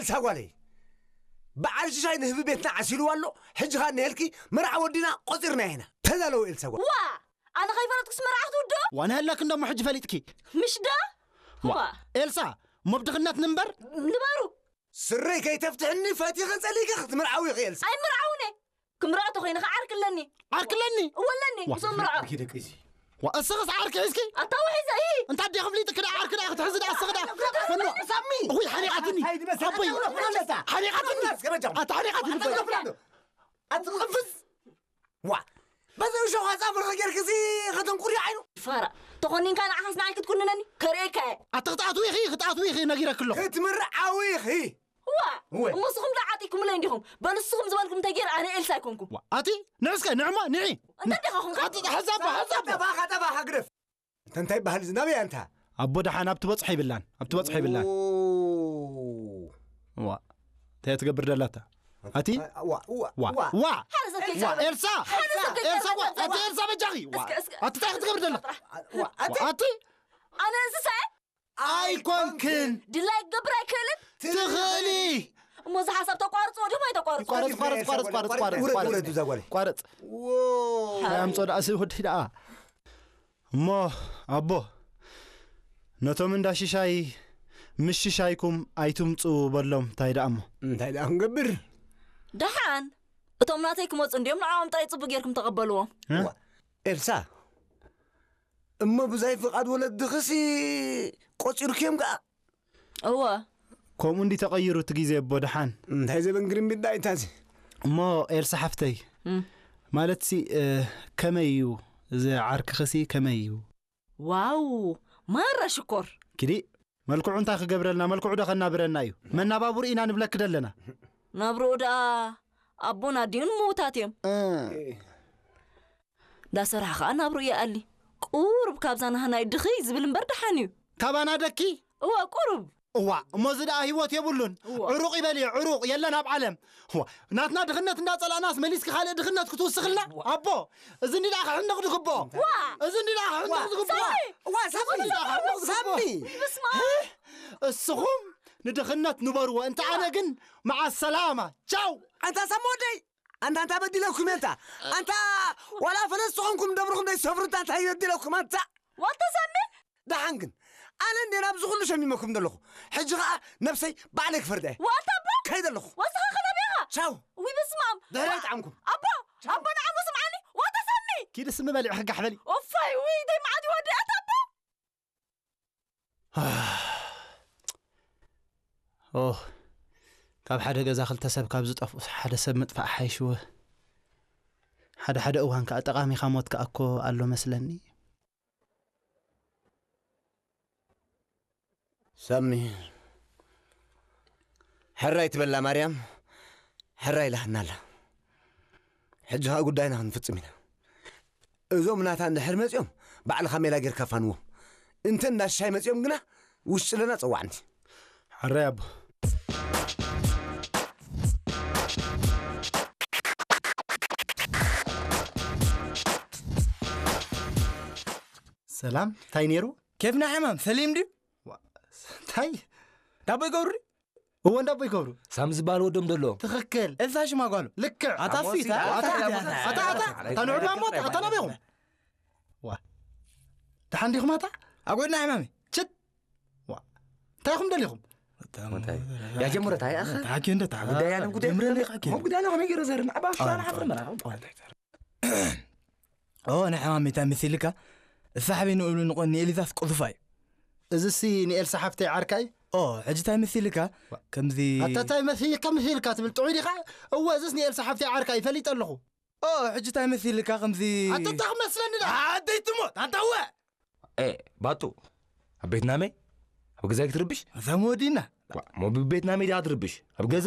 ኤልሳ ጓለይ፣ በዓል ሽሻይ ንህቢ ቤትና ዓሲልዋ ኣሎ። ሕጂ ኸኣ ንሄልኪ መርዓ ወዲና ቆጺርና ኢና። ተዳለዊ ኤልሳ ጓል። ዋ! ኣነ ከይፈለጥኩስ መርዓ ክትውድኦ? ዋና ህላክ እንደሞ ሕጂ ፈሊጥኪ። ምሽ ዶ? ዋ! ዋ! ኤልሳ፣ እሞ ብድኽነት ንንበር? ንበሩ! ስረይ ከይተፍትሕኒ ፈቲኸ ጸሊእከ ክትምርዓዊ ኢኺ ኤልሳ። ኣይምርዓውነ! ክምርዖ ተኾይነ ኸዓ ዓርኪ ኣለኒ። ዓርኪ ኣለኒ? እወ ኣለኒ። ዋ። ክሶም ምርዖ። ኣርኪ ደቂ እዚ። ዋ፣ እስኽስ ዓርኪ ሒዝኪ? ኣታ ውሒዘ፣ እሂ። እንታ ኣዴኺ ፍሊጥኪ ደኣ ዓርኪ ደኣ ክትሕዚ ደኣ እስኺ ደኣ። ፈኖ። ሳሚ። ውይ፣ ሓኒቓትኒ። እንታይ ድመሰል? ኣቦይ። ሓኒቓትኒ። ኣታ ሓኒቓትኒ። ኣታ ቅፍዝ። ዋ። በዚ ሸው ጻፍርኺ ጌርኪ እዚ ከተንቁሪ ዓይኑ። ፋራ። ተኾኒንካ ንዓኻስ ንዓይ ክትኩንነኒ? ከርእየካ እየ። ኣታ ክትኣትዊ ኢኺ፣ ክትኣትዊ ኢኺ ነጊረኪ ኣለኹ። ክትምርዓዊ ኢኺ። ዋ! እወ። እሞ ንስኹም ዶ ዓጢኩምለይ እንዲኹም? በሉ ንስኹም ዝበልኩም እንተገይረ ኣነ ኤልሳ ኣይኮንኩ። ዋ፣ ኣቲ ንዕስከ፣ ንዕማ፣ ንዒ። እንታይ ዲኻ ኹንካ? ኣቲ ሓዛባ፣ ሓዛባ። ጠባኻ፣ ጠባኻ ግደፍ። እንተ እንታይ በሃል እዚ ናበይ ኣንታ? ኣቦ ደሓን ኣብ ትበጽሖ ይብላን፣ ኣብ ትበጽሖ ይብላን። ኦ። ዋ። እንታይ ትገብር ደላታ? ኣቲ? ዋ፣ ዋ፣ ዋ፣ ዋ። ዋ። ሓደ ሰብ ዋ፣ ከይዛረብ። ኤልሳ! ሓደ ሰብ ኤልሳ፣ ዋ፣ ከይዛረብ። ኣቲ ኤልሳ በጃኺ! ዋ። እስከ፣ እስከ። ኣቲ እንታይ ክትገብር ደላ? ዋ፣ ኣቲ? ኣቲ? ኣነ እንስሳ እየ? ኣይኮንክን። ድላይ ክገብር ኣይክእልን? ትኽእሊ። እሞ እዚ ሓሳብ ተቋርጽዎ ድዮም ኣይተቋርጽዎ? ይቋረጽ፣ ይቋረጽ፣ ይቋረጽ፣ ይቋረጽ፣ ይቋረጽ፣ ይቋረጽ፣ ውረድ፣ ይቋረጽ። ውረድ፣ እዛ ጓለይ። ቋረጽ። ዎ። ሃይ ኣምጾ ደኣ፣ እዚ ወዲ ደኣ። እሞ ኣቦ፣ ነቶም እንዳ ሽሻይ፣ ምስ ሽሻይኩም ኣይትምጹ በሎም፣ እንታይ ደኣ እሞ? እንታይ ደኣ ክንገብር? ደሓን፣ እቶም ናተይ ክመጹ እንድዮም፣ ንዕኦም ጥራይ ጽቡቕ ጌርኩም ተቐበልዎም። እ? ዋ፣ ኤልሳ፣ እሞ ብዛይ ፍቓድ ወለድኽሲ ቆጺርክዮም ከኣ? እወ። ከምኡ እንዲ ተቐይሩ እቲ ግዜ ኣቦ ደሓን። እንታይ ዘበን ግርምቢጥ ደኣ ኢታዚ? እሞ ኤልሳ ሓፍተይ፣ እም። ማለትሲ፣ እ፣ ከመይ እዩ? እዚ ዓርክኽሲ ከመይ እዩ? ዋው! ማራ ሽኮር! ኪዲ፣ መልክዑ እንታይ ክገብረልና? መልክዑ ዶ ከናብረና እዩ? መናባብሩ ኢና ንብለኪ ደለና። ናብርኡ ደኣ ኣቦን ኣዲኡን ምዉታት እዮም። እ። ዳሰርሐ ኸኣ ናብርኡ ይኣሊ። ቁሩብ ካብዛ ናህናይ ድኽይ ዝብል እምበር ደሓን እዩ። ካባና ደኪ? እወ፣ ቁሩብ። እዋ፣ እሞ እዚ ደኣ ህይወት የብሉን። እዋ። ዕሩቕ ይበል እየ፣ ዕሩቕ የለን ኣብ ዓለም። እዋ፣ ናትና ድኽነት እንዳጸላእናስ መሊስኪ ካልእ ድኽነት ክትውስኽልና? እዋ። ኣቦ፣ እዚ እንዲ ደኣ ክሕነቕ ዝግብኦ። ዋ። እዚ እንዲ ደኣ ክሕነቕ ዋ። ዝግብኦ። ሳሚ! እዋ፣ ሳሚ! እዚ እንዲ ደኣ ክሕነቕ ዝግብኦ። ሳሚ! በስመ ኣብ! እስኹም ንድኽነት ንበርዎ፣ እንተ ኣነ ግን መዓ ሰላማ። ቻው! ኣንታ ሳሚ ወደይ! ኣንታ፣ ኣንታ በዲለኩም እየ፣ ኣንታ። ኣንታ፣ ዋላ ፈለስቲ ኾንኩም ደብርኹም ደይሰፍሩ፣ ኣንታ፣ እንታይ በዲለኩም፣ ኣንታ? ዋልታ ሳሚ? ደሓን ግን፣ ኣነ እንዴ ናብዚ ኩሉ ሸሚመኩም ዘለኹ? ሕጂ ኸኣ ነብሰይ ባዕለይ ክፈርዳ እየ። ዋልታ ኣቦ? ከይደ ኣለኹ። ወስኻ ከለቢኻ? ቻው። ውይ፣ በስመ ኣብ። ድሕረይ ይጥዓምኩም። ኣቦ፣ ቻው። ኣቦ፣ ንዓሞ ስምዓኒ። ዋልታ ሳሚ? ኪዲ ስሚ በሊዕ፣ ክጋሕ በሊ። ኡፋይ፣ ውይ፣ ደይ መዓት ይወዲ፣ ኣታ ኣቦ? ኦ፣ ካብ ሓደ ገዛ ክልተ ሰብ ካብ ዝጠፍኡስ ሓደ ሰብ ምጥፋእ ሓይሽወ። ሓደ ሓደ እዋን ከኣ ጠቓሚኻ ሞት ከኣ እኮ ኣሎ መስለኒ። ሳሚ፣ ሕራይ ትበላ ማርያም፣ ሕራይ ኢላትና ኣላ። ሕጂ ኸኣ ጉዳይና ክንፍጽም ኢና። እዞም ናታ እንድሕር መጺኦም፣ ባዕልኻ ሜላ ጌርካ ፋንዎም። እንተ እንዳ ሽሻይ መጺኦም ግና፣ ውሽጢ ለና ጸዋዕንቲ። ሕራይ ኣቦ። ሰላም፣ እንታይ ነይሩ? ኬፍና ሕማም፣ ሰሊም ድዩ? ዋ፣ እንታይ? ዳቦ ይገብሩ ድዩ? እወ፣ እንዳቦ ይገብሩ። ሳም ዝበሃል ወዶም ደሎ። ትኽክል። እዛ ሽማ ጓሉ። ልክዕ። ኣታ ኣሞሲ፣ ፊት፣ ኣታ ኣታ፣ ፊት፣ ኣታ፣ ኣታ፣ ኣታ፣ ኣታ፣ ኣታ፣ ኣታ፣ ንዑ ዶ ኣሞ፣ ኣታ ናበይኹም? ዋ። ደሓን ዲኹም ኣታ? ኣብ ጎድና ሕማሚ። ችት። ዋ። እንታይ ኢኹም ደሊኹም? እንታይ? ያ ጀምሮ፣ እንታይ ኣኸ? ተሓኪ እንደ ተሓኪ። ጉዳይ ኣነ ጉዳይ ጀምረ እንደ ተሓኪ። ሞ ጉዳይ ኣነ ከመይ ገይረ ዘር ንዓባ ኣዎ፣ ሽራና ሓፍር ኣዎ። መራ። ኦ፣ ናይ ሕማም እንታይ መሲልካ? እሳ ሓበይ ንእሉ ንቆ-፣ ንኤሊዛስ ቁዙፋ እዩ። እዚሲ ንኤልሳ ሓፍተይ ዓርካ እዩ? ኦ፣ ሕጂ እንታይ መሲልካ? ዋ። ከምዚ ኣታ እንታይ መሲልካ፣ መሲልካ ትብል ጥዑይ ዲኻ? እወ፣ እዚስ ንኤልሳ ሓፍተይ ዓርካ እዩ፣ ፈሊጠ ኣለኹ። ኦ፣ ሕጂ እንታይ መሲልካ ከምዚ ኣታ እንታይ ክመስለኒ ደኣ? ኣደይ ትሞት፣ ኣንታ እወ! ኤ፣ ባጡ፣ ኣብ ቤት ናመይ? ኣብ ገዛይ ክትርብሽ? እዛ መወዲና። ዋ፣ ሞ ብቤት ናመይ ዲኣ ትርብሽ? ኣብ ገዛ